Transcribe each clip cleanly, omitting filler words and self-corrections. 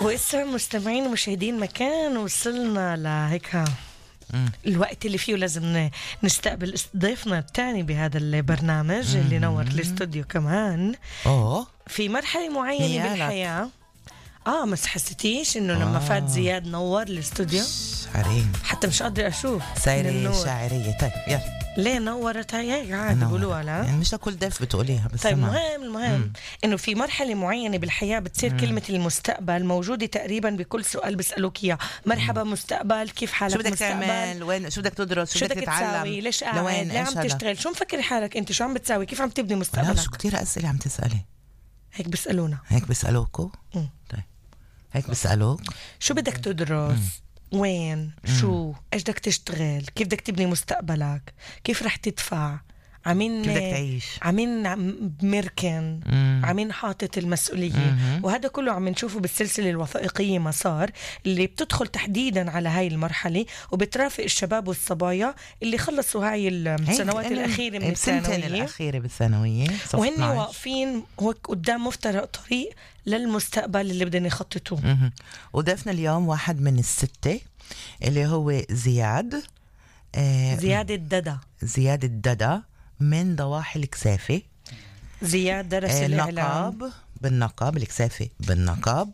وإسا مستمعين ومشاهدين مكان وصلنا لهيك الوقت اللي فيه لازم نستقبل ضيفنا الثاني بهذا البرنامج اللي نور الاستوديو كمان في مرحلة معينة بالحياة. بس حسيتيش انه لما فات زياد نور الاستوديو عرين حتى مش قادرة اشوف سايرة شاعرية. طيب يلا ليه نورت هيك عادي بقولوها لا يعني مش لكل ضيف بتقوليها بس طيب المهم انه في مرحلة معينة بالحياة بتصير كلمة المستقبل موجودة تقريبا بكل سؤال بيسألوك اياه. مرحبا مستقبل، كيف حالك؟ شو بدك مستقبل؟ تعمل؟ وين؟ شو بدك تدرس؟ شو بدك تتعلم؟ تساوي؟ ليش قاعد؟ ليه عم تشتغل؟ شو مفكر حالك انت؟ شو عم بتساوي؟ كيف عم تبني مستقبلك؟ شو كتير أسئلة عم تسألي هيك بيسألونا. هيك بيسألوكوا؟ طيب هيك بيسألوك شو بدك تدرس؟ وين؟ شو؟ ايش بدك تشتغل؟ كيف بدك تبني مستقبلك؟ كيف رح تدفع؟ عمين كيف بدك تعيش؟ عمين مركن؟ عمين حاطط المسؤولية؟ وهذا كله عم نشوفه بالسلسلة الوثائقية مسار اللي بتدخل تحديدا على هاي المرحلة وبترافق الشباب والصبايا اللي خلصوا هاي السنوات الأخيرة من الثانوية الأخيرة بالثانوية وهن واقفين هيك قدام مفترق طريق للمستقبل اللي بدنا يخططوه. وضيفنا اليوم واحد من الستة اللي هو زياد زياد الددا من ضواحي الكسافة. زياد درس الإعلام بالنقاب، الكسافة بالنقاب.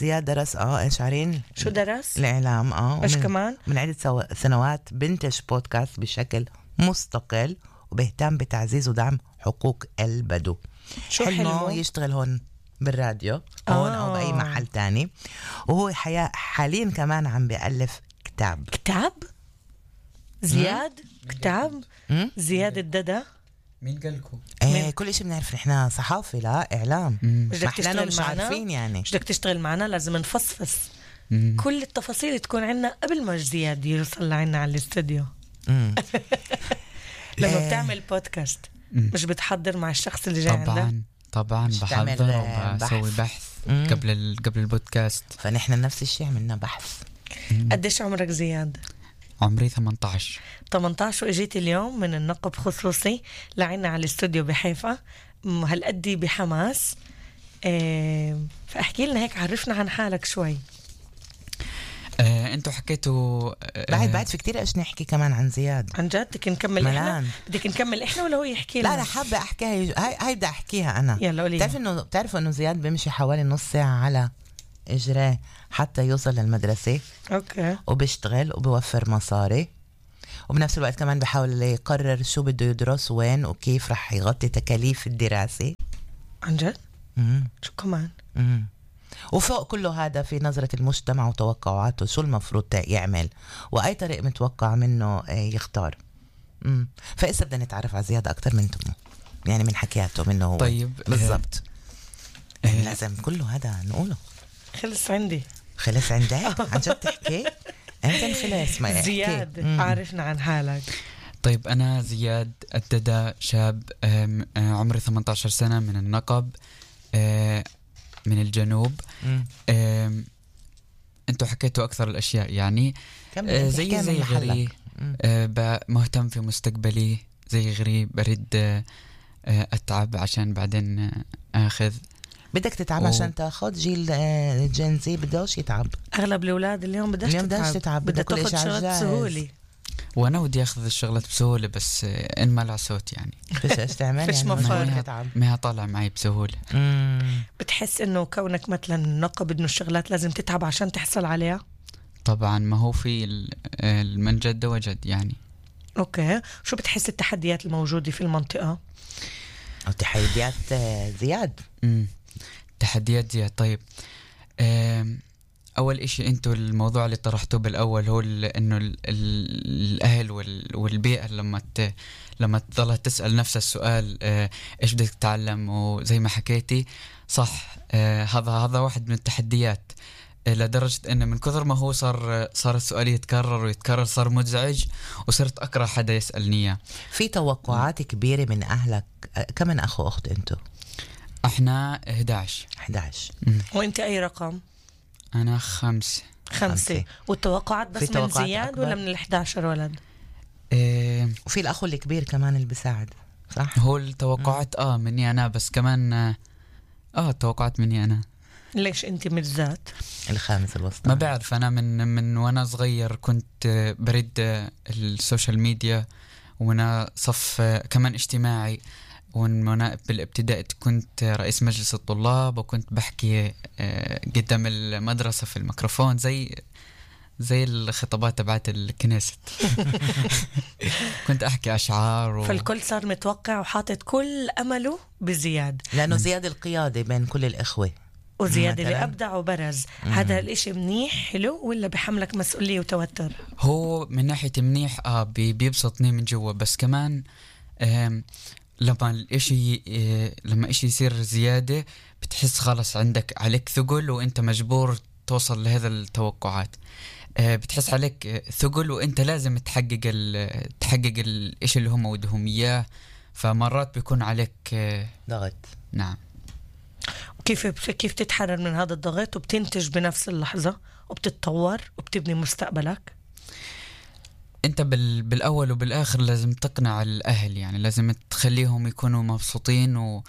زياد درس ايش عارين؟ شو درس؟ الإعلام ايش كمان؟ من عدة سنوات بنتج بودكاست بشكل مستقل وبيهتم بتعزيز ودعم حقوق البدو. شو حلمه؟ يشتغل هون بالراديو هون أو بأي محل تاني. وهو حاليا كمان عم بيألف كتاب زياد كتاب زياد الددا. مين قالكم؟ كل إشي بنعرف نحنا صحافة لا إعلام. مش بدك تشتغل مش معنا؟ عارفين يعني مش بدك تشتغل معنا؟ لازم نفصفص كل التفاصيل تكون عنا قبل ما زياد يوصل لعنا على الاستوديو. لما بتعمل بودكاست مش بتحضر مع الشخص اللي جاي عندك؟ طبعا بحضر وبسوي بحث قبل البودكاست. فنحن نفس الشيء عملنا بحث. قديش عمرك زياد؟ عمري 18 واجيت اليوم من النقب خصوصي لعنا على الاستوديو بحيفا هالقدي بحماس. فاحكي لنا هيك، عرفنا عن حالك شوي. انتوا حكيتوا بعد في كتير ايش نحكي كمان عن زياد. عن جد بدك نكمل احنا؟ بدك نكمل احنا ولا هو يحكي لنا؟ لا حابة احكيها. هاي بدي احكيها انا. يلا قولي. بتعرفوا انه زياد بيمشي حوالي نص ساعة على اجراه حتى يوصل للمدرسة. اوكي. وبيشتغل وبيوفر مصاري وبنفس الوقت كمان بحاول يقرر شو بده يدرس وين وكيف رح يغطي تكاليف الدراسة. عن جد؟ شو كمان؟ وفوق كله هذا في نظرة المجتمع وتوقعاته شو المفروض يعمل وأي طريق متوقع منه يختار. فإسا بدنا نتعرف على زيادة أكتر من تمه يعني من حكياته منه هو. طيب بالضبط. لازم كله هذا نقوله. خلص عندك عن جد تحكي أنت خلاص ما زياد عارفنا عن حالك. طيب أنا زياد الددا، شاب عمري 18 سنة من النقب من الجنوب. انتوا حكيتوا أكثر الأشياء يعني زي غيري. مهتم في مستقبلي زي غيري، بريد أتعب عشان بعدين أخذ. بدك تتعب عشان تاخذ جيل الجنزي بدوش يتعب. اغلب الاولاد اليوم بدك تتعب بدك تاخذ شغلات بسهوله. وانا ودي اخذ الشغلات بسهوله بس ان ما لها صوت يعني فيش تعمل فيش يعني ما طالع معي بسهوله. بتحس انه كونك مثلا نقب انه الشغلات لازم تتعب عشان تحصل عليها؟ طبعا ما هو في من جد وجد يعني. اوكي. شو بتحس التحديات الموجوده في المنطقه؟ او تحديات زياد؟ تحديات زياد. طيب أول إشي أنتوا الموضوع اللي طرحتوه بالأول هو إنه الأهل والبيئة لما تضلها تسأل نفس السؤال إيش بدك تتعلم، وزي ما حكيتي صح هذا واحد من التحديات لدرجة إنه من كثر ما هو صار السؤال يتكرر صار مزعج وصرت أكره حدا يسألني. في توقعات كبيرة من أهلك. كم من أخ وأخت أنتوا؟ احنا 11. وانت اي رقم؟ انا 5. والتوقعات بس من زياد أكبر. ولا من ال11 ولد؟ وفي الاخ الكبير كمان اللي بيساعد صح؟ هو التوقعات مني انا بس كمان التوقعات مني انا. ليش انت بالذات؟ الخامس الوسطى؟ ما بعرف، أنا من وأنا صغير كنت بريد السوشيال ميديا، وأنا صف كمان اجتماعي، وأنا بالابتدائي كنت رئيس مجلس الطلاب، وكنت بحكي قدام المدرسة في الميكروفون زي الخطابات تبعت الكنيسة. كنت أحكي أشعار فالكل صار متوقع وحاطط كل أمله بزياد، لأنه زياد القيادة بين كل الإخوة، وزياد اللي أبدع وبرز. هذا الاشي منيح حلو ولا بحملك مسؤولية وتوتر؟ هو من ناحية منيح بيبسطني من جوا، بس كمان لما إشي يصير زيادة بتحس خلاص عندك عليك ثقل، وإنت مجبور توصل لهذا التوقعات. بتحس عليك ثقل، وإنت لازم تحقق الإشي اللي هم ودهم إياه، فمرات بيكون عليك ضغط. نعم. كيف تتحرر من هذا الضغط وبتنتج بنفس اللحظة وبتتطور وبتبني مستقبلك؟ انت بالاول وبالاخر لازم تقنع الاهل، يعني لازم تخليهم يكونوا مبسوطين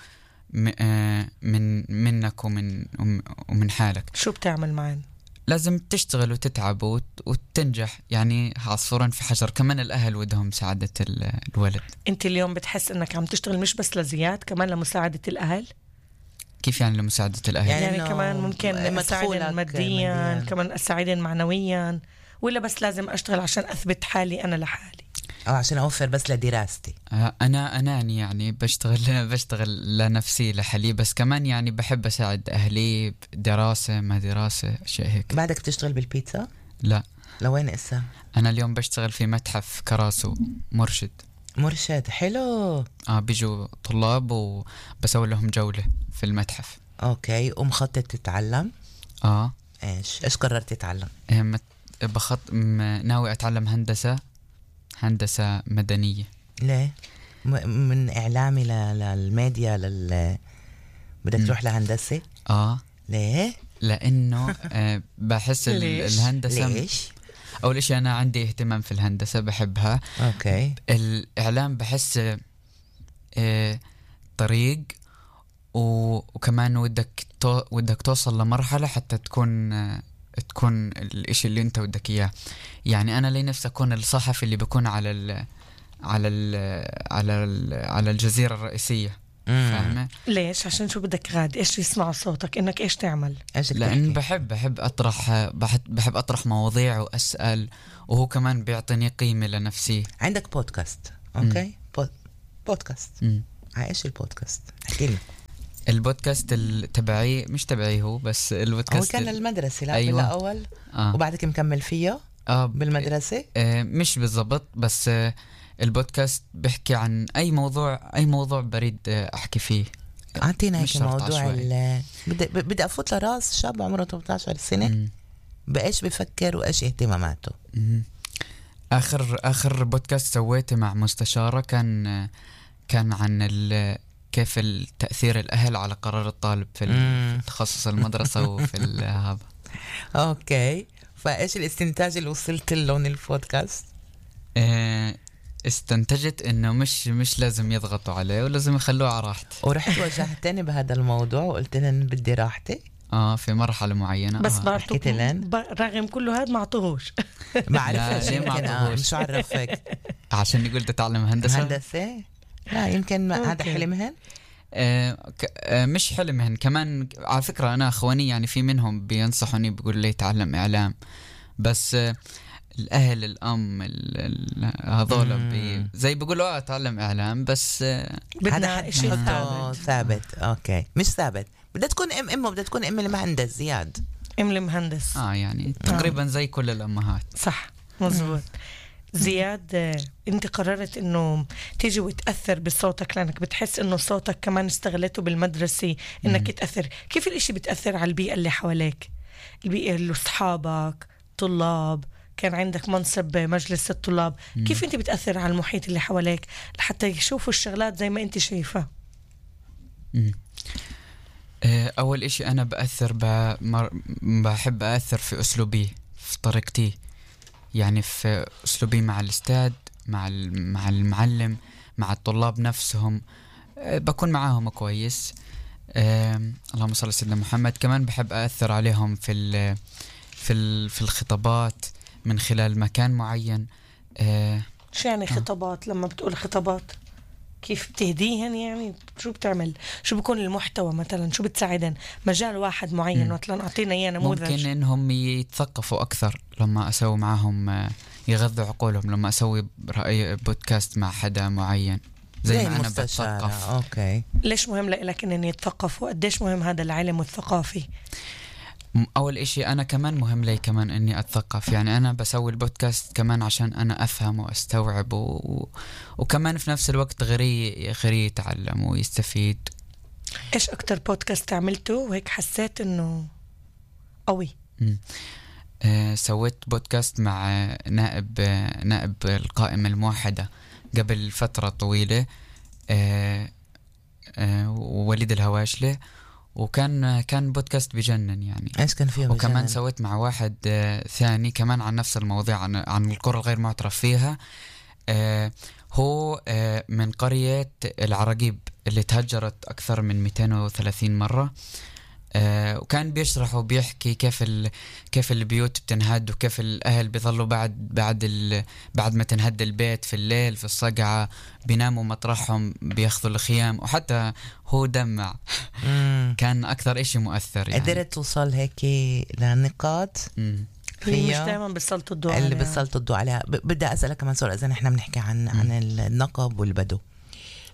منك ومن حالك. شو بتعمل معين؟ لازم تشتغل وتتعب وتنجح، يعني عصفورين في حجر. كمان الاهل ودهم مساعدة الولد. انت اليوم بتحس انك عم تشتغل مش بس لزياد، كمان لمساعدة الاهل؟ كيف يعني لمساعدة الاهل؟ يعني كمان ممكن اساعدهم ماديا، كمان اساعدهم معنويا، ولا بس لازم اشتغل عشان اثبت حالي انا لحالي، او عشان اوفر بس لدراستي؟ انا يعني بشتغل لنفسي لحالي، بس كمان يعني بحب اساعد اهلي دراسة ما دراسة اشياء هيك. بعدك بتشتغل بالبيتزا؟ لا. لوين اسا؟ انا اليوم بشتغل في متحف كراسو، مرشد. حلو. بيجوا طلاب وبسوي لهم جولة في المتحف. اوكي. ومخطط تتعلم؟ ايش قررت تتعلم؟ ناوي اتعلم هندسة مدنية. ليه؟ من اعلامي للميديا بدك تروح لهندسة؟ ليه؟ لانه بحس الهندسة. ليش؟ اول اشي انا عندي اهتمام في الهندسة، بحبها. اوكي. الاعلام بحس طريق، وكمان ودك توصل لمرحلة حتى تكون الاشي اللي انت ودك اياه. يعني انا لي نفسي اكون الصحفي اللي بيكون على الجزيرة الرئيسية. فاهمة؟ ليش؟ عشان شو بدك غاد؟ ايش يسمعوا صوتك؟ انك ايش تعمل؟ لان بحب اطرح مواضيع واسأل، وهو كمان بيعطيني قيمة لنفسي. عندك بودكاست؟ اوكي. بودكاست. ايش البودكاست؟ احكي لي. البودكاست تبعي، مش تبعي هو، بس البودكاست هو كان المدرسة. لا أيوة. بالأول. وبعدك مكمل فيه بالمدرسة؟ مش بالضبط، بس البودكاست بحكي عن أي موضوع بريد أحكي فيه. أعطينا هيك موضوع. بدي أفوت لراس شاب عمره 18 سنة. بإيش بفكر وإيش اهتماماته؟ آخر بودكاست سويته مع مستشارة كان عن كيف التأثير الأهل على قرار الطالب في تخصص المدرسة وفي هذا. أوكي. فإيش الاستنتاج اللي وصلت له من البودكاست؟ استنتجت إنه مش لازم يضغطوا عليه، ولازم يخلوه على راحته. ورحت واجهتني بهذا الموضوع وقلت لهم بدي راحتي. في مرحلة معينة. بس رغم كله هذا ما عطوهوش. ما عرفت ليه ما عطوهوش. مش عرفك؟ عشان يقول تتعلم هندسة. لا يمكن هذا حلمهن. مش حلمهن. كمان على فكرة أنا أخواني يعني في منهم بينصحوني، بيقول لي تعلم إعلام، بس الأهل الأم هذول زي بيقولوا أتعلم إعلام، بس هذا شيء ثابت. أوكي. مش ثابت. بدها تكون بدها تكون المهندس زياد. المهندس. يعني تقريبا زي كل الأمهات. صح مظبوط. زياد، انت قررت انه تيجي وتأثر بصوتك، لانك بتحس انه صوتك كمان استغلته بالمدرسة انك تأثر. كيف الاشي بتأثر على البيئة اللي حواليك؟ البيئة اللي اصحابك، طلاب، كان عندك منصب مجلس الطلاب. كيف انت بتأثر على المحيط اللي حواليك لحتى يشوفوا الشغلات زي ما انت شايفها؟ اول اشي انا بحب أأثر في اسلوبي، في طريقتي، يعني في أسلوبي مع الأستاذ، مع المعلم، مع الطلاب نفسهم. بكون معاهم كويس. اللهم صل على سيدنا محمد. كمان بحب أأثر عليهم في الخطابات من خلال مكان معين. شو يعني خطابات؟ لما بتقول خطابات كيف بتهديهن؟ يعني شو بتعمل؟ شو بيكون المحتوى مثلا؟ شو بتساعدن؟ مجال واحد معين مثلا أعطينا إياه نموذج. ممكن إنهم يتثقفوا أكثر لما أسوي معهم، يغذوا عقولهم لما أسوي رأي بودكاست مع حدا معين زي ما أنا بتثقف. أوكي. ليش مهم لك إن يتثقفوا؟ قديش مهم هذا العلم والثقافي؟ أول إشي أنا كمان مهم لي كمان إني أتثقف. يعني أنا بسوي البودكاست كمان عشان أنا أفهم وأستوعب وكمان في نفس الوقت غيري يتعلم ويستفيد. إيش أكتر بودكاست عملته وهيك حسيت إنه قوي؟ سويت بودكاست مع نائب القائمة الموحدة قبل فترة طويلة، وليد الهواشلة، وكان بودكاست بجنن يعني. ايش كان فيه؟ وكمان بجنن. سويت مع واحد ثاني كمان عن نفس المواضيع، عن القرى الغير معترف فيها. هو من قرية العراقيب اللي تهجرت أكثر من 230 مرة. وكان بيشرح وبيحكي كيف البيوت بتنهد، وكيف الأهل بيظلوا بعد ما تنهد البيت في الليل في الصقعة بيناموا مطرحهم بياخذوا الخيام. وحتى هو دمع. كان أكثر إشي مؤثر يعني. قدرت توصل هيك لنقاط مش دائما بيسلطوا الضوء عليها. اللي بيسلطوا الضوء عليها. بدي أسألك كمان سؤال. إذا نحن بنحكي عن النقب والبدو،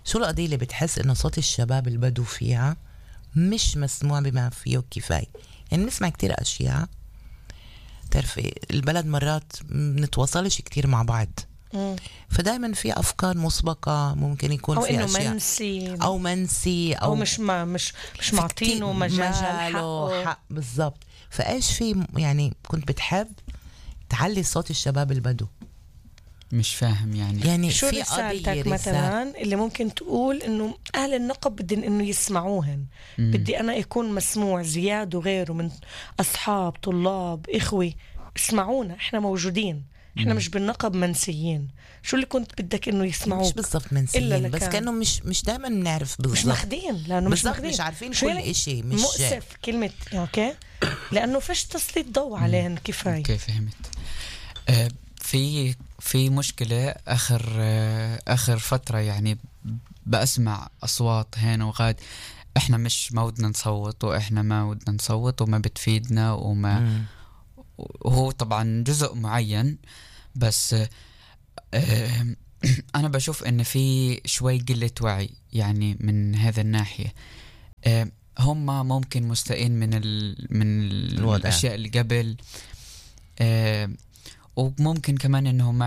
شو القضية اللي بتحس إنه صوت الشباب البدو فيها مش مسموع بما فيه كفاية؟ يعني نسمع كتير أشياء، تعرفي البلد مرات نتواصلش كتير مع بعض، فدايما في أفكار مسبقة ممكن يكون أو في إنه أشياء منسي أو مش معطينه مجاله حق بالضبط. فإيش في يعني كنت بتحب تعلي صوت الشباب البدو؟ مش فاهم يعني شو رسالتك مثلا اللي ممكن تقول إنه أهل النقب بدي إنه يسمعوهن؟ بدي أنا يكون مسموع زياد وغيره من أصحاب طلاب إخوي، اسمعونا، إحنا موجودين، إحنا مش بالنقب منسيين. شو اللي كنت بدك إنه يسمعوك؟ مش بالضبط منسيين، بس كانوا مش دائما بنعرف بالضبط، مش ماخدين، لأنه مش عارفين كل إشي. مش مؤسف كلمة أوكي، لأنه فيش تسليط ضوء عليهن كفاية. أوكي فهمت. في مشكلة آخر فترة يعني بأسمع أصوات هنا وغاد، إحنا ما ودنا نصوت، وإحنا ما ودنا نصوت وما بتفيدنا وهو طبعا جزء معين، بس أنا بشوف إن في شوي قلة وعي يعني من هذا الناحية. هم ممكن مستائين من الأشياء اللي قبل، وممكن كمان إنهم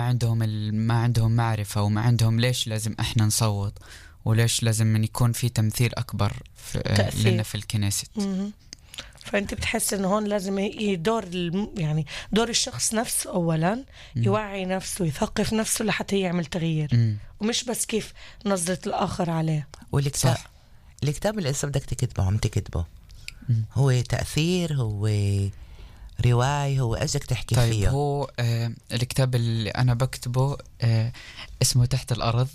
ما عندهم معرفة، وما عندهم ليش لازم إحنا نصوت، وليش لازم من يكون في تمثيل أكبر لنا في الكنيسة. فأنت بتحس إنه هون لازم يعني دور الشخص نفسه أولا، يوعي نفسه، يثقف نفسه لحتى يعمل تغيير، ومش بس كيف نظرة الآخر عليه. الكتاب اللي بدك تكتبه عم تكتبه هو تأثير، هو رواية، هو ايش بدك تحكي طيب فيه؟ هو الكتاب اللي أنا بكتبه اسمه تحت الأرض.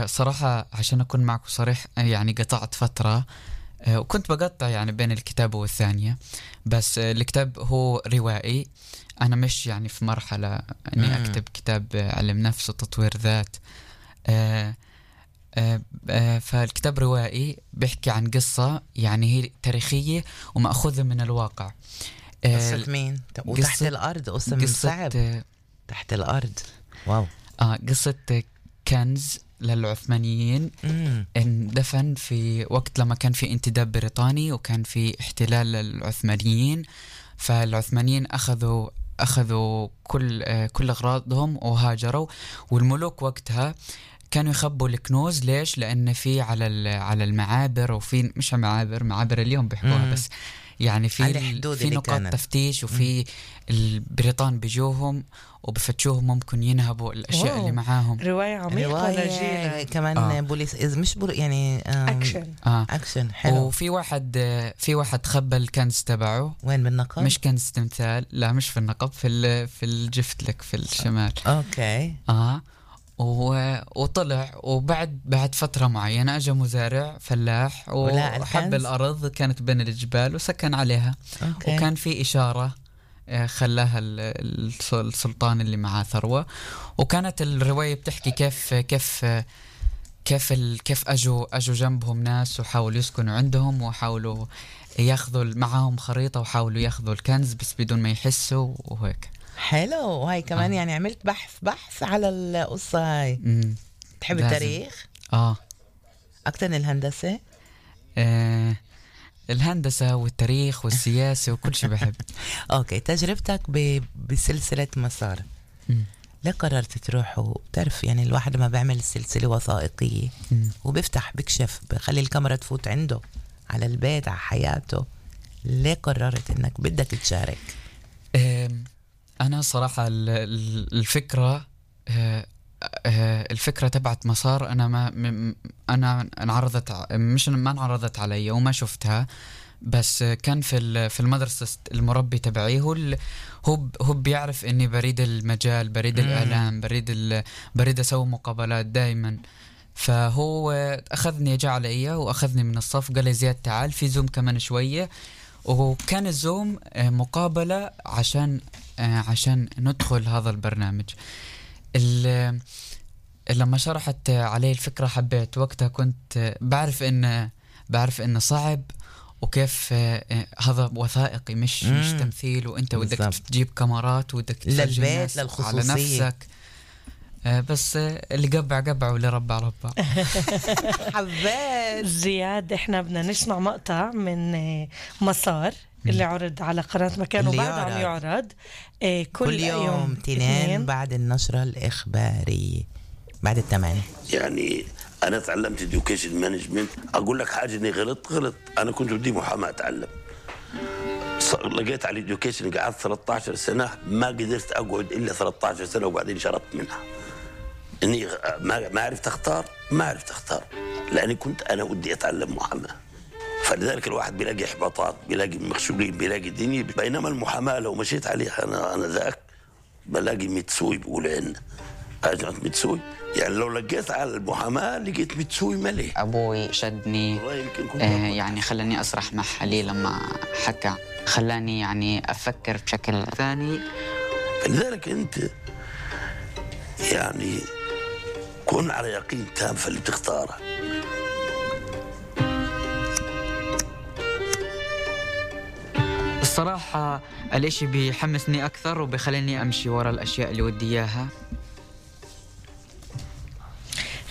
صراحة عشان أكون معكم صريح، يعني قطعت فترة وكنت بقطع يعني بين الكتاب والثانية، بس الكتاب هو روائي. أنا مش يعني في مرحلة أني أكتب كتاب علم نفس وتطوير ذات. فالكتاب روائي بيحكي عن قصة يعني هي تاريخية ومأخوذة من الواقع. قصة مين؟ وتحت الأرض قصة صعب. تحت الأرض، واو. قصة كنز للعثمانيين اندفن في وقت لما كان في انتداب بريطاني وكان في احتلال للعثمانيين. فالعثمانيين أخذوا كل أغراضهم وهاجروا، والملوك وقتها كانوا يخبوا الكنوز. ليش؟ لأن في على المعابر، وفي مش معابر اليوم بيحكوها، بس يعني في نقاط تفتيش، وفي البريطان بيجوهم وبفتشوهم، ممكن ينهبوا الأشياء اللي معاهم. رواية عميقة لجيلة كمان. بوليس مش يعني أكشن حلو. وفي واحد خبى الكنز تبعه. وين؟ بالنقب؟ مش كنز تمثال، لا مش في النقب، في الجفت لك في الشمال. أوكي. وطلع، بعد فترة معينة أجا مزارع فلاح وحب الأرض كانت بين الجبال وسكن عليها. أوكي. وكان في إشارة خلاها السلطان اللي معاه ثروة. وكانت الرواية بتحكي كيف أجوا جنبهم ناس وحاولوا يسكنوا عندهم وحاولوا ياخذوا معهم خريطة وحاولوا ياخذوا الكنز بس بدون ما يحسوا وهيك. حلو. وهي كمان يعني عملت بحث على القصة هاي. تحب التاريخ؟ أكتر من الهندسة؟ الهندسة والتاريخ والسياسة وكل شيء بحب. أوكي. تجربتك بسلسلة مسار، ليه قررت تروح؟ وبتعرف يعني الواحد ما بيعمل سلسلة وثائقية بكشف بخلي الكاميرا تفوت عنده على البيت على حياته، ليه قررت انك بدك تشارك؟ انا صراحة الفكرة تبعت مسار انا انعرضت، ما انعرضت علي وما شفتها، بس كان في المدرسة المربي تبعي هو بيعرف اني بريد المجال، بريد الاعلام، بريد اسوي مقابلات دائما. فهو اخذني، جاء علي واخذني من الصف قال لي زياد تعال في زوم كمان شوية. وكان الزوم مقابلة عشان ندخل هذا البرنامج. لما شرحت علي الفكرة حبيت. وقتها كنت بعرف إنه صعب، وكيف هذا وثائقي مش تمثيل، وانت بدك تجيب كاميرات ودك تسجل للبيت على نفسك. بس اللي قبع واللي ربع. حبيت. زياد، احنا بدنا نسمع مقطع من مسار اللي عرض على قناة مكان، وبعد عم يعرض كل يوم 2 بعد النشرة الإخبارية بعد 8. يعني أنا تعلمت education management. أقول لك حاجة إني غلط. أنا كنت بدي محاماة أتعلم، لقيت على education قعدت 13 سنة، ما قدرت أقعد إلا 13 سنة وبعدين شربت منها. إني ما عرفت أختار لأني كنت أنا ودي أتعلم محاماة. فلذلك الواحد بيلاقي إحباطات، بيلاقي مخشوقين، بيلاقي دنيا. بينما المحاماة لو مشيت عليها أنا ذاك بلاقي متسوي، بقول عنا أجنت متسوي. يعني لو لقيت على المحاماة لقيت متسوي ملي. أبوي شدني يعني خلاني أسرح مع حالي لما حكى، خلاني يعني أفكر بشكل ثاني. فلذلك أنت يعني كن على يقين تام في اللي بتختاره. الصراحة الاشي بيحمسني أكثر وبيخليني أمشي ورا الأشياء اللي ودي إياها.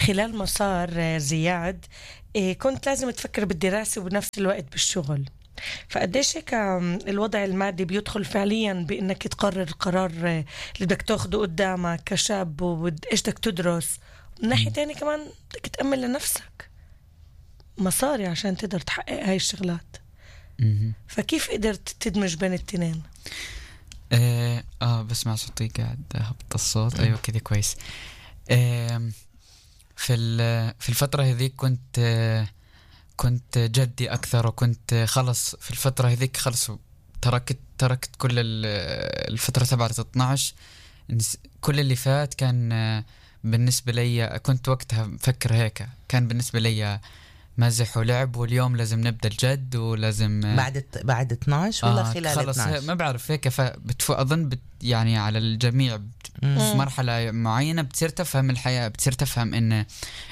خلال مسار زياد كنت لازم تفكر بالدراسة وبنفس الوقت بالشغل، فقديش هيك الوضع المادي بيدخل فعليا بأنك تقرر القرار اللي بدك تاخده قدامك كشاب وإيش بدك تدرس، من ناحية تانية كمان بدك تأمن لنفسك مصاري عشان تقدر تحقق هاي الشغلات. فكيف قدرت تدمج بين التنين؟ بسمع صوتي قاعد هبط الصوت. أيوة كده كويس. في الفترة هذيك كنت جدي أكثر، وكنت خلص في الفترة هذيك خلص تركت كل الفترة تبعت 12. كل اللي فات كان بالنسبة لي، كنت وقتها مفكر هيك، كان بالنسبة لي مزح ولعب، واليوم لازم نبدأ الجد ولازم بعد 12 ولا خلال خلص 12 ما بعرف هيك. أظن يعني على الجميع في مرحلة معينة بتصير تفهم الحياة، بتصير تفهم إن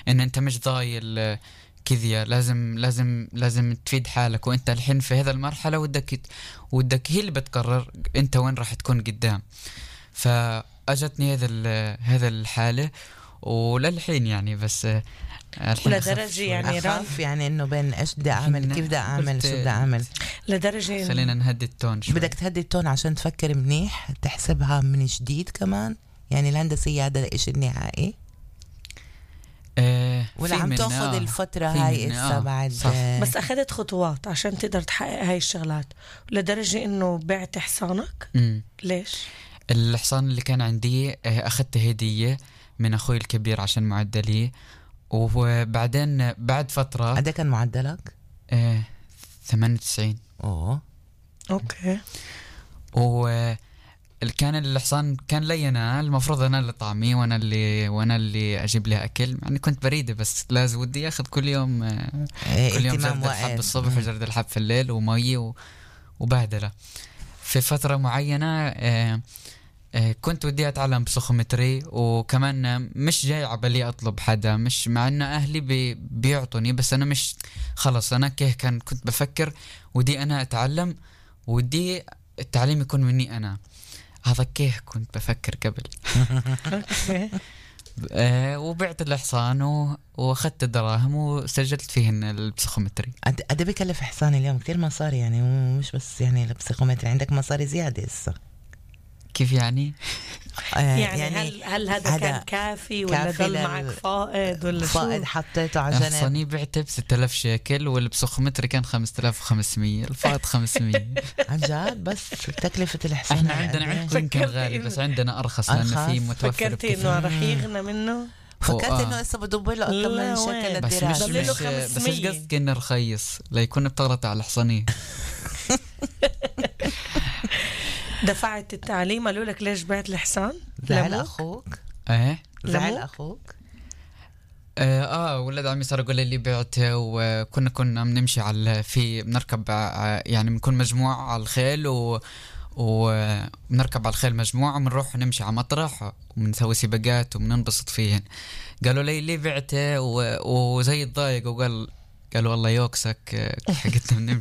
أنت مش ضايل كذا، لازم تفيد حالك، وأنت الحين في هذا المرحلة ودك هي اللي بتقرر أنت وين راح تكون قدام. فأجتني هذا الحالة وللحين يعني، بس لدرجة يعني أخاف يعني إنه بين إيش بدي أعمل، كيف بدي أعمل، شو بدي أعمل. لدرجة خلينا نهدي التون شوي. بدك تهدي التون عشان تفكر منيح، تحسبها من جديد كمان. يعني الهندسية هذا الإشي النهائي ولا عم تأخذ الفترة هاي إسا بعد بس أخذت خطوات عشان تقدر تحقق هاي الشغلات، لدرجة إنه بعت حصانك. ليش؟ الحصان اللي كان عندي أخذته هدية من أخوي الكبير عشان معدلي، وبعدين بعد فترة. قد كان معدلك؟ 98. أوكي. كان الحصان كان لي أنا، المفروض أنا اللي طعميه وأنا اللي أجيب له أكل. يعني كنت بريدة بس لازم ودي أخذ كل يوم جرد الحب الصبح وجرد الحب في الليل ومي وبهدلة. في فترة معينة كنت ودي أتعلم بسيكومتري، وكمان مش جاي عبالي أطلب حدا، مش مع أن أهلي بيعطوني، بس أنا مش خلص أنا كنت بفكر ودي أنا أتعلم ودي التعليم يكون مني أنا. هذا كيه كنت بفكر قبل. وبعت الحصان واخذت الدراهم وسجلت فيهن البسيكومتري. قد بكلف حصان اليوم؟ كتير مصاري يعني، ومش بس يعني البسيكومتري، عندك مصاري زيادة هسه. كيف يعني؟ يعني هل هذا كان كافي ولا ضل معك فائض ولا فائض حطيته على جنب؟ حصاني بعته ب6000 شيكل والبسيكومتري كان 5500، الفائض 500. عن جد؟ بس تكلفة الحصان احنا عندنا يمكن غالي بس عندنا أرخص لأنه في متوفر. فكرتي إنه رح يغنى منه؟ فكرت إنه إسا بدوب له أكثر من شكل الدراهم. بس مش قصدك إنه رخيص ليكون بتغلط على الحصانية. دفعت التعليم، قالوا لك ليش بعت الحصان؟ زعل أخوك؟ زعل أخوك؟ ولد عمي صار يقول لي بعته، وكنا بنمشي بنركب يعني بنكون مجموعة على الخيل وبنركب على الخيل مجموعة وبنروح نمشي على مطرح وبنسوي سباقات وبننبسط فيهن. قالوا لي بعته وزي الضايق، قالوا والله يوكسك حقتنا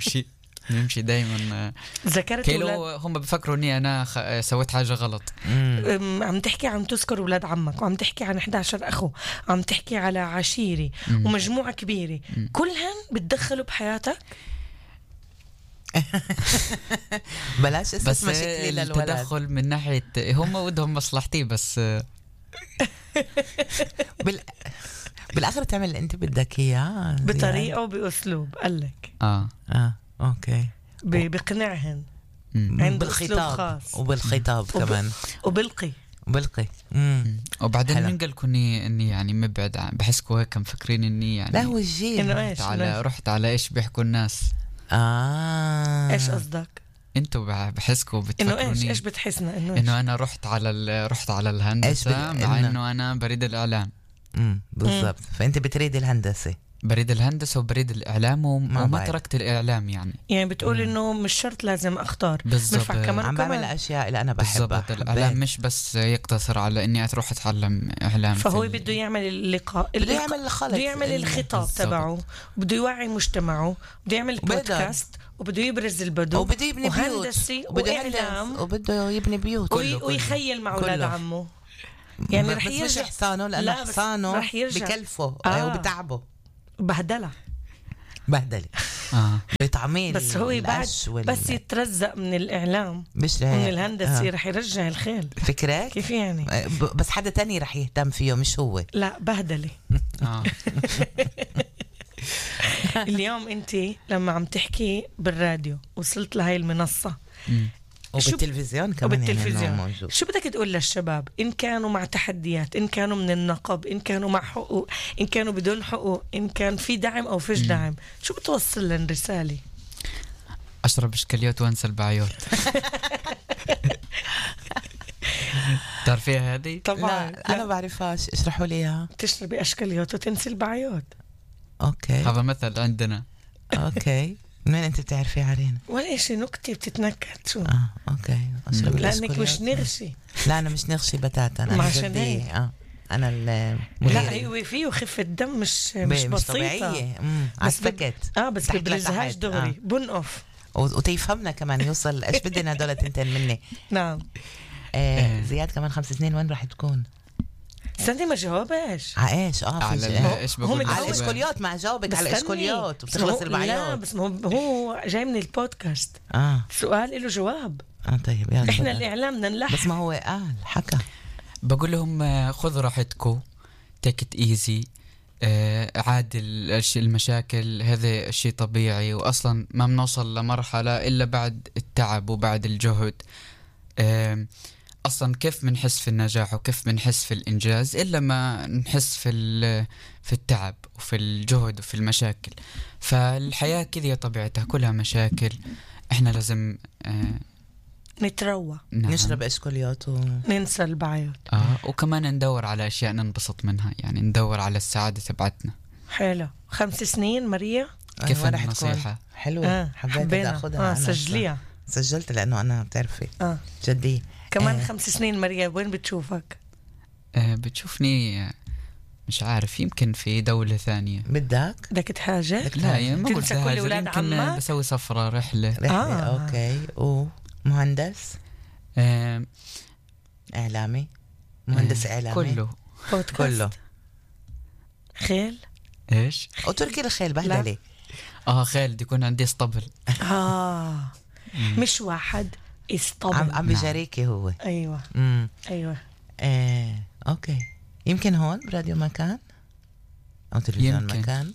نمشي دايما. ذكرت كيلو هم بفكروا اني انا سويت حاجه غلط. عم تحكي، عم تذكر اولاد عمك، وعم تحكي عن 11 اخو، عم تحكي على عشيره ومجموعه كبيره، كلهم بتدخلوا بحياتك؟ بلاش اسمع شكلي للولد. التدخل من ناحيه هم ودهم مصلحتي بس. بالاخر تعمل اللي انت بدك اياه بطريقه وباسلوب. قال لك اوكي بقنعهن عنده بالخطاب وبالخطاب كمان وبلقي وبعدين من قالكم اني يعني مبعد بحسكوا هيك مفكرين اني يعني لا هو الجيل رحت على ايش بيحكوا الناس. ايش قصدك؟ انتوا بحسكوا بتفكروني انه ايش بتحسنا انه انا رحت على الهندسه مع انه انا بريد الاعلام. بالضبط. فانت بتريد الهندسه، بريد الهندسة وبريد الإعلام وما تركت الإعلام يعني بتقول إنه مش شرط لازم أختار. بالضبط. عم بعمل الأشياء اللي أنا بحبها. الإعلام مش بس يقتصر على إني أروح أتعلم إعلام. فهو بده يعمل اللقاء، بده يعمل الخلط، بده يعمل الخطاب تبعه، بده يوعي مجتمعه، بده يعمل بودكاست، وبده يبرز البدو، وبده يبني بيوت، وهندسي وإعلام، وبده يبني بيوت ويخيل مع أولاد عمه. يعني رح يرجع حصانه، لأنه حصانه بكلفه وبتعبه بهدلة بتعميل. بس هو بعد بس يترزق من الإعلام مش من الهندسة رح يرجع الخيل. فكرة كيف يعني؟ بس حدا تاني رح يهتم فيه مش هو. لا بهدلة. اليوم انت لما عم تحكي بالراديو وصلت لهاي المنصة وبالتلفزيون كمان وبالتلفزيون يعني موجود. شو بدك تقول للشباب إن كانوا مع تحديات، إن كانوا من النقب، إن كانوا مع حقوق، إن كانوا بدون حقوق، إن كان في دعم أو فيش دعم، شو بتوصل لهم رسالة؟ أشرب إشكاليات وأنسى البعيوت. تعرفيها هذه؟ طبعا لا أنا بعرفهاش، اشرحوا لي إياها. تشربي أشكاليات وتنسي البعيوت. أوكي هذا مثل عندنا. أوكي منين أنت بتعرفي علينا؟ ولا إشي نكتة بتتنكت شو؟ أوكي. لأنك مش نغشي. لا أنا مش نغشي بتاتا، أنا جدية. أنا لا هو فيه خفة دم مش بسيطة طبيعية. عالسكت بس ببرزهاش دغري بنقف وتيفهمنا كمان يوصل إيش بدنا هدول تنتين مني. نعم. زياد كمان 5 سنين وين راح تكون؟ استني ما جاوبش على ايش؟ على ايش بقول؟ على الاشكوليات. ما جاوبك على الاشكوليات وبتخلص البعيوت. لا بس هو جاي من البودكاست. سؤال له جواب. طيب يلا. احنا الاعلام بدنا نلحق. بس ما هو قال حكى. بقول لهم خذوا راحتكم، تيك ات ايزي، عادي المشاكل هذا شيء طبيعي، واصلا ما بنوصل لمرحلة الا بعد التعب وبعد الجهد. أصلاً كيف بنحس في النجاح وكيف بنحس في الإنجاز إلا ما نحس في التعب وفي الجهد وفي المشاكل. فالحياة كذا طبيعتها كلها مشاكل. إحنا لازم نتروى، نعم. نشرب إشكوليات ننسى البعيات. وكمان ندور على أشياء ننبسط منها، يعني ندور على السعادة تبعتنا. حلو. 5 سنين ماريا كيف رح تكون النصيحة؟ حلوة. حبيت أخذها. سجليها. سجلت لأنه أنا بتعرفي جدي. كمان 5 سنين ماريا وين بتشوفك؟ بتشوفني مش عارف، يمكن في دولة ثانية. بدك تهاجر؟ لا يعني ما قلت تنسى كل هاجر، ولاد يمكن عمك؟ بسوي سفرة رحلة. أوكي. ومهندس إعلامي، مهندس إعلامي كله كله. خيل؟ إيش؟ وتركي الخيل بهدلي. خيل بدي يكون عندي اسطبل. مش واحد اسطبل. عم بجاريكي هو. أيوة. أيوة. أوكي. يمكن هون براديو مكان أو تلفزيون مكان.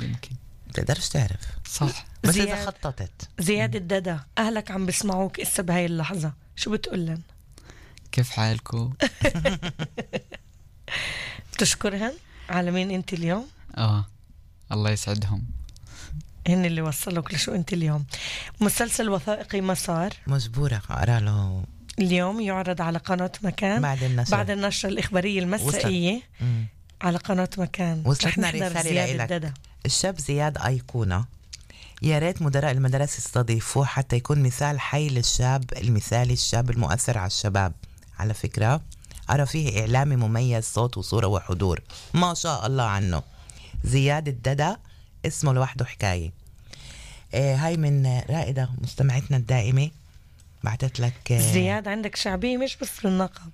يمكن. تقدرش تعرف. صح. بس إذا خططت. زياد الدادا، أهلك عم بسمعوك إسا بهاي اللحظة، شو بتقولن؟ كيف حالكو؟ بتشكرهن على مين أنت اليوم؟ الله يسعدهم. هن اللي وصلوك لشو أنت اليوم. مسلسل وثائقي مسار مجبورة أقرأ له اليوم، يعرض على قناة مكان بعد النشرة الإخبارية المسائية على قناة مكان. وصلتنا رسالة لك. الشاب زياد أيقونة، يا ريت مدراء المدارس يستضيفوه حتى يكون مثال حي للشاب المثالي، الشاب المؤثر على الشباب. على فكرة أرى فيه إعلامي مميز، صوت وصورة وحضور، ما شاء الله عنه. زياد الدادا اسمه لوحده حكاية. هاي من رائدة مستمعتنا الدائمة، بعتت لك. زياد عندك شعبية مش بس بالنقب.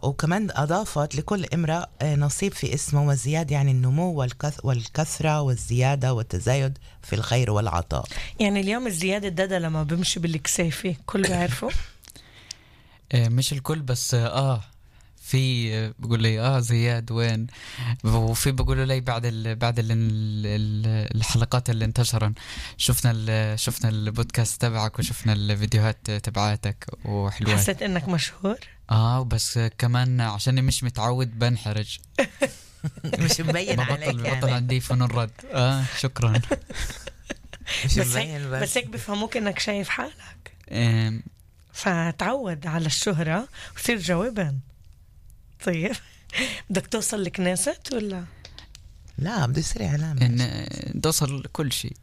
وكمان أضافت لكل امرأة نصيب في اسمه، والزياد يعني النمو والكثرة والزيادة والتزايد في الخير والعطاء. يعني اليوم الزياد الدادا لما بمشي بالكسافة كل بيعرفه؟ مش الكل بس في بقول لي زياد وين، وفي بقولوا لي بعد الحلقات اللي انتشرن شفنا البودكاست تبعك وشفنا الفيديوهات تبعاتك وحلوات. حسيت انك مشهور؟ بس كمان عشان مش متعود بنحرج. مش مبين عليك بطل عندي فن الرد. شكرا. بس هيك بفهموك انك شايف حالك، فتعود على الشهرة وصير جوابا. طيب بدك توصل لكنيست ولا لا؟ بدي يصير اعلام، توصل كل شيء.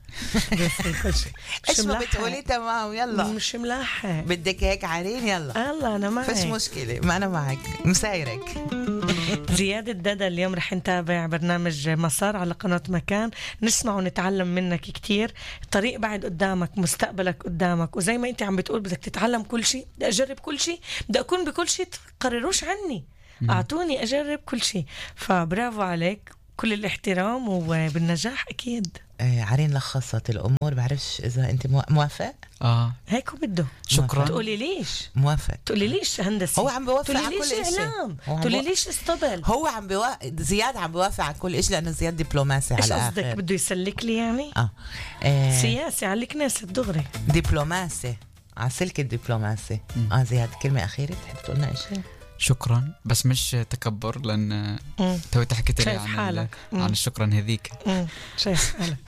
ايش ما بتقولي تمام. يلا مش ملاحق، بدك هيك عارين. يلا انا معك، فيش مشكلة، ما انا معك مسايرك. زياد الدادا اليوم رح نتابع برنامج مسار على قناة مكان، نسمع ونتعلم منك كتير. الطريق بعد قدامك، مستقبلك قدامك، وزي ما انت عم بتقول بدك تتعلم كل شيء. بدي اجرب كل شيء، بدي اكون بكل شيء، تقرروش عني، اعطوني اجرب كل شيء. فبرافو عليك، كل الاحترام وبالنجاح اكيد. عارين لخصت الامور، بعرفش اذا انت موافق. هيك بده. شكرا. تقولي ليش موافق؟ تقولي ليش هندسة؟ هو عم بيوافق على كل شيء. تقولي ليش اسطبل؟ هو عم زياد عم بيوافق على كل شيء لانه زياد دبلوماسي على الاخر. ايش قصدك؟ بده يسلك لي يعني؟ سياسي على الكنيسة دغري. دبلوماسي على سلك الدبلوماسي. زياد كلمة أخيرة تحب تقولنا شيء؟ شكرا، بس مش تكبر، لأن توي حكيت لي عن الشكرا هذيك. شايف حالك.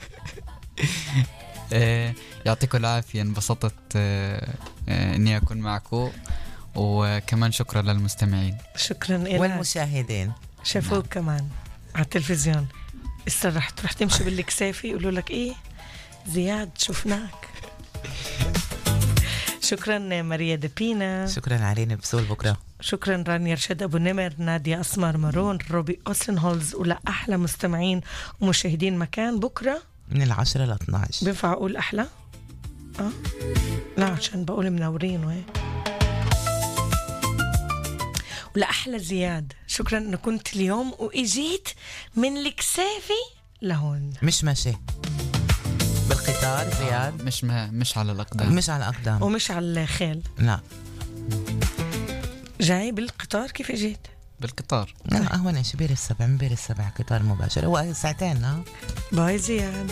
يعطيكم العافية، انبسطت إني أكون معكم، وكمان شكرا للمستمعين. شكرا إلك والمشاهدين شافوك كمان على التلفزيون. استرحت رح تمشي بالكسافي يقولوا لك إيه زياد شفناك. شكرا ماريا دبينا، شكرا عرين بسول بكرة، شكرا رانيا رشاد أبو نمر، نادية أسمر مارون، روبي أوسنهولز، ولا أحلى مستمعين ومشاهدين مكان بكرة من 10 ل 12. بينفع أقول أحلى؟ لا عشان بقول منورين وهيك. ولا أحلى زياد، شكرا أنه كنت اليوم وإجيت من الكسافي لهون. مش ماشي بالقطار زياد؟ مش على الأقدام، مش على الأقدام ومش على الخيل، لا جاي بالقطار. كيف جيت بالقطار؟ لا أهون شبير السبع، مبير السبع قطار مباشر، هو ساعتين. باي زياد.